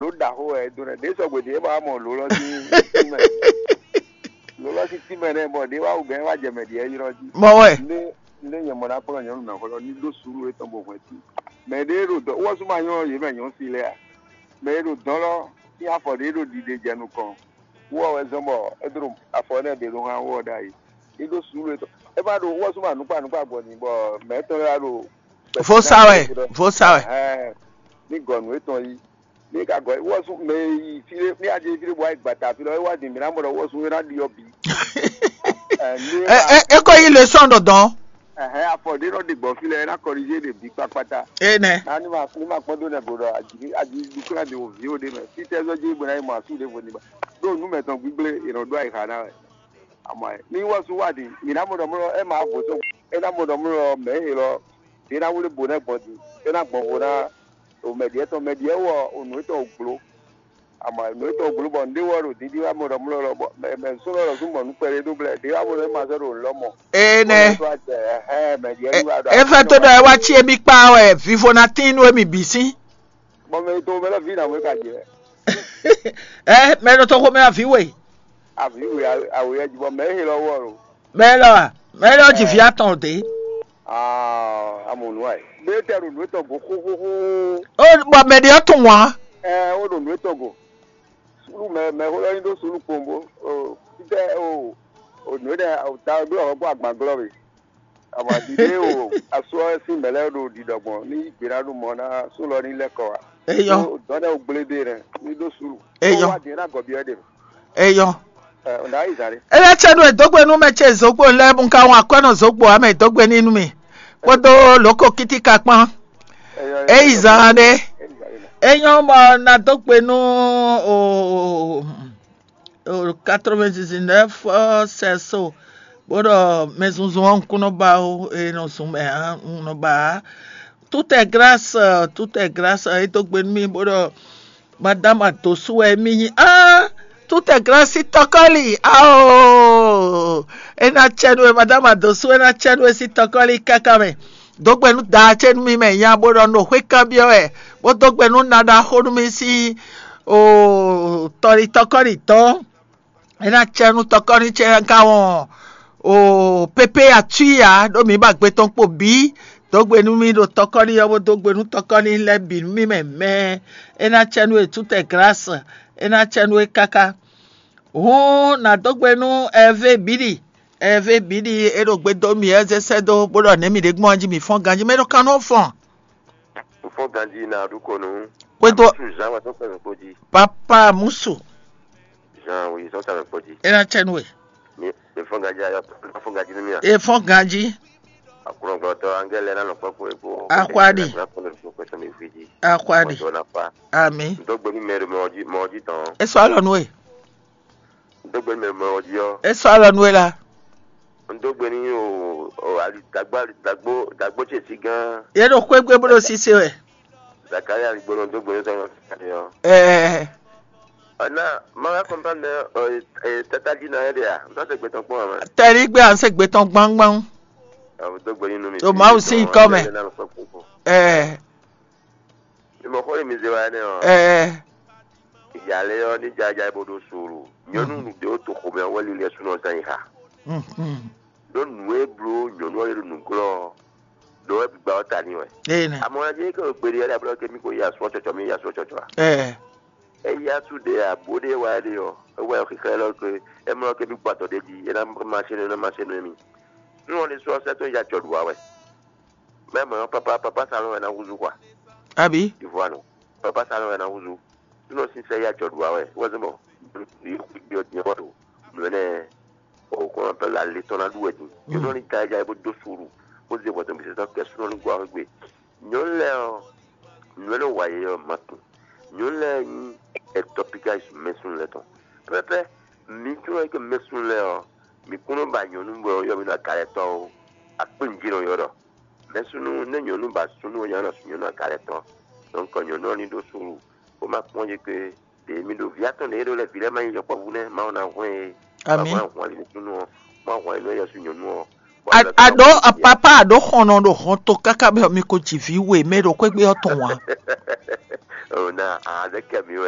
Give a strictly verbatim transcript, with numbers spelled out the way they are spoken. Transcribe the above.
Ló ɖaxó wɛ é dó nɛ́. Ɖě sɔgbe ɖě é ma wá mɔ lǒ lɔ sín tínmɛ. Lǒ lɔ sín tínmɛ nɛ́ bɔ ɖě wá wú gɛ́ wá jɛ mɛ ɖě ylɔ́ jí. Mɔ wɛ. Ndé ndé nyɛ mɔ ná kplɔ́n nyɔ̌nu mɛxó lɔ ní ɖó suúlu étɔn bó hwɛ́n tún. Mɛ ɖé ɖo dɔ̌ wɔ sú ma nyɔ́ yě mɛ nyɔ̌nu si lɛ́ɛ a? Mɛ e ɖo dɔ̌n lɔ sín afɔ ɖé ɖo ɖiɖe jɛ nukɔn. Wú ɔ́ wɛ zɔ́n bɔ é ɖo afɔ énɛ́ ɖě ɖó hán wú ɔ́ ɖ'ayǐ. Ní ɖó suúlu étɔn. É ma ɖo wú ɔ́ sú ma nǔkpa nǔkpa gbɔ n'i bɔ mɛ étɔn lɛ́ɛ wá ɖo Vo sa wɛ, vo sa wɛ. Ɛhɛn, ní gɔ nǔ étɔn yí. Ní ka gɔ wú ɔ́ sú mɛ e yi fí ɖé ní adye fí ɖé bɔ wá yi gbata fí lɔ é wá din mǐ ná mɔ ɖɔ wú ɔ́ sú é ná ɖi ɔ́ bǐ. Ɛ, ní É, é, é ko yí leçon ɖɔdɔn. Ɛhɛn, afɔ ɖé nɔ ɖe gbɔ fí lɛ é ná kɔlízé ɖe bǐ kpákpátá. Énɛ́. Ná ní ma ní ma kpɔ́n dó nɛgbó ɖɔ aji aji dúkúlá ɖe wò vǐ ó ɖé mɛ. Fítɛ́ zɔ́ jí bó ná yi mɔ asú ɖěvo ní ba. Ɖó nǔ mɛtɔn gbígblé è nɔ ɖó ayixa ná wɛ. Amɔ ɛ ní wɔ sú wá ɖi mǐ ná mɔ ɖɔ mlɔ ɛ má vo tó é ná mɔ ɖɔ mlɔ mɛ é lɔ ɖé ná wlé bo nɛ gbɔn din é ná gbɔn vo ná o mɛ ɖiɛ tɔn mɛ ɖiɛ wɔ o nǔ étɔn o gblo. Amɔ nǔ étɔn o gblo bɔ nǔɖé wɔ ɖo didi wá mɔ ɖɔ mlɔ lɔ bɔ mɛ mɛ sún lɔ sún mɔ nú kpɛɖé ɖó blɛ ɖé wá mɔ ɖɔ é ma sɔ́ ɖo nǔ lɔ mɔ. Ene. Wá jɛ ɛhɛn mɛ ɖiɛ ní wá ɖɔ é fɛ́ tó ɖɔ é wá cí émí kpá wɛ vivo ná tín nú émí bǐ sín. Bɔ mɛ to mɛ lɔ vi na mɔ é ka jɛ. Ɛ mɛ ɖo tɔxo mɛ avi we. Avi we awe yɛ jibɔ mɛ he lɔ wɔ lo. Mɛ lɔ a mɛ lɔ ji vi atɔn de. Aa amonu ayi. Bɛ tɛ ɖo nǔ etɔn go xóxóxó. O bɔ mɛ ɖe ɔtún wa. Ɛ o ɖo nǔ etɔn go. Sulu mɛ mɛ xó lɔ nyi ɖó sulu kpombo. O titɛ o o nǔ ɖe o ta ɖó ɔhɔ kó agban glɔ we. Awǎ ɖiɖe o asú ɔ́ sín mɛ lɛ́ɛ ɖo ɖiɖɔ gbɔn ní yí gbe ná ɖo mɔ ná sú lɔ ní lɛ́ kɔ wá. Eyɔ. Dɔn ɖe o gblé ɖe nɛ ní ɖó sulu. Eyɔ. Wá ɖě ná gɔ́ byɔ́ ɖe. Eyɔ. Ɛ o ná yi zǎn ɖé. Ele tsɛ nú edógbe nú mɛ ce zokpo lɛ́ɛ bun ka wɔn akwɛ́ nɔ zokpo amɛ dógbe ní nú mi kpódó lǒko kítíkà kpán. Eyi zǎn ɖé. Enyɔ bɔ ná dó gbe nú o. Quatre-vingt-dix-neuf sɛso bó ɖɔ mɛ zunzun ɔ́ un kún nɔ ba ó, e nɔ zun mɛ ǎ un nɔ ba ǎ. Tout est grâce, tout est grâce, é dó gbe nú mì bó ɖɔ madame Adosu wɛ mì nyí á. Tout est grâce tɔkɔli ao. É ná cɛ nú we madame Adosu, é ná cɛ nú we sín tɔkɔli káká mɛ. Dó gbe nú da ce nú mì mɛ nya bó ɖɔ nɔ xwé kanbyɔ́ wɛ, bó dó gbe nú naɖaxó nú mì sín o tɔlitɔkɔli tɔn. É ná cɛ nú tɔkɔ́ní ce ká wɔn o pépé atwí ǎ ɖó mǐ ba gbe tɔn kpo bǐ. Dó gbe nú mì ɖo tɔkɔ́ní ɔ́ bó dó gbe nú tɔkɔ́ní lɛ́ɛ bǐ nú mì mɛ mɛ. É ná cɛ nú e tútɛ glǎs, é ná cɛ nú e káká. Hǔn nǎ dó gbe nú Ɛvée bǐ ɖi. Ɛvée bǐ ɖi é ɖo gbe dó mì é zé sɛ́ dó bó ɖɔ nɛ̌ mì ɖě gbɔn jí mǐ fɔ́n ganjí mɛ ɖo kannú ɔ́ fɔ́n. Fɔ́n ganjí ná ɖu kɔnu. Xwédo Amusu Jean wɛ tó kpɛ mɛ kpo jí. Papa Musu. Jean wi sɔ́ ta mɛ kpo jí. É ná cɛ nú we. Ní ní fɔ́n ganjí ayɔ fɔ́n ganjí ní mì a. E fɔ́n ganjí. Akunɔgbɔtɔ angɛlɛ ná nɔ kpɔ́ kpo epo. Axwaɖi. Kpɛtɔ mi fi jí. Axwaɖi. Mɔjɔ na fa. Ami. Ntɔgbe mi mɛ ɖo mɔ jí mɔ jí tɔn. E sɔ alɔ nú we. Ntɔgbe mi mɛ mɔ jí ɔ. E sɔ alɔ nú we la. Ntɔgbe ni o o ali dagbo ali dagbo dagbo ce si gán. Ye ɖo xwégbe bó ɖo sise wɛ. Zakari ali gbɔdɔ ntɔgbe ni sɔn ɔ. Ɛɛ. Ɔna mawa kɔmpani ɛ tata di na yɛ de ya ntɔ se gbɛtɔ kpɔn ma. Tɛli gbé à ń ṣègbè tán gbangban. Ntɔgbe ni nu mi. O Mawu sí ikɔ mɛ. Ɛɛ. Ìmọ̀ xó ni mi zé wa énɛ́ ɔ́. Ɛɛ. Ìyàlẹ́ ɔ́ ní jájá bó ɖó sòrò. Nyɔnu nǔgbé ó to xomɛ ɔ́ wɛ lílɛ súnɔ zán yi xa. Mhm. Ɖó nǔ e bló nyɔnu ɔ́ ɖe ɖo nǔglɔ́ ɔ́, ɖó wɛ gbígbá ɔ́ ta ní wɛ. Ee nɛ. Amɔ ɛ jẹ́ kí o gbede ɛ ɖe ablɔ kí mi ko yi asɔ tsɔtsɔ mi yi asɔ tsɔtsɔ a. Ɛɛ. Eyi asu ɖe abo ɖe wa ɖe ɔ, ewa xixlɛ lɔ ke emlɔ ke mi gbɔ atɔ ɖe jí ena ma se nɔ ena ma se nɔ emi. Nú ɔ́ ní sɔ sɛ tó ya jɔ ɖu wa wɛ. Mɛ mɔ papa papa salon wɛ na húzú kwa. Abi. Ivoano papa salon wɛ na húzú. Nú ɔ́ sísɛ ya jɔ ɖu wa wɛ wɛ zɔn bɔ yɔ diɛ wɔ ɖo mlɔ nɛ o kɔn pɛ la le tɔn na ɖu wɛ din. Yɔ nɔ ni ta ja bo do suru bo ze bɔ tɔn bi se tɔn kɛ sunɔ ni gwa wɛ gbe. Nyɔnu lɛ́ɛ ɔ́, nǔ e nɔ wa yě ɔ́ ma tunwun. Nyɔnu lɛ́ɛ nyí etɔpika mɛsúnnu lɛ́ɛ tɔn. Pɛ́pɛ́pɛ́, mi tunwun ɔ́, mɛsúnnu lɛ́ɛ ɔ́, mi kún nɔ ba nyɔ̌nu bɔ yɔ mi ɖo agalɛtɔ́ ó. Akpé nǔjínɔ ylɔ́ ɖɔ mɛsúnnu nɛ́ nyɔ̌nu ba súnnu ɔ́ nya nɔ nyɔ̌nu agalɛtɔ́. Donc nyɔ̌nu ɔ́ ní ɖó súnnu, bó ma kpɔ́n yě kpé. Ɖě mi ɖo vǐ atɔn ɖě e ɖó lɛ́ɛ vǐ lɛ́ɛ ma nyí yɔkpɔ́vú nɛ́, Mawu ná hwlɛ́n yě. Amǐ. Mawu ná hwlɛ́n ali nú súnnu ɔ́, Mawu hwlɛ́n nú yɛsu nyɔ̌nu ɔ́. Aɖó apapa aɖó xɔnɔ ɖo hɔn to káká bɛ mi ko ji vǐ we mɛ ɖo xwégbé ɔ́ tɔn wá. Ona azɛkɛ mi wɛ.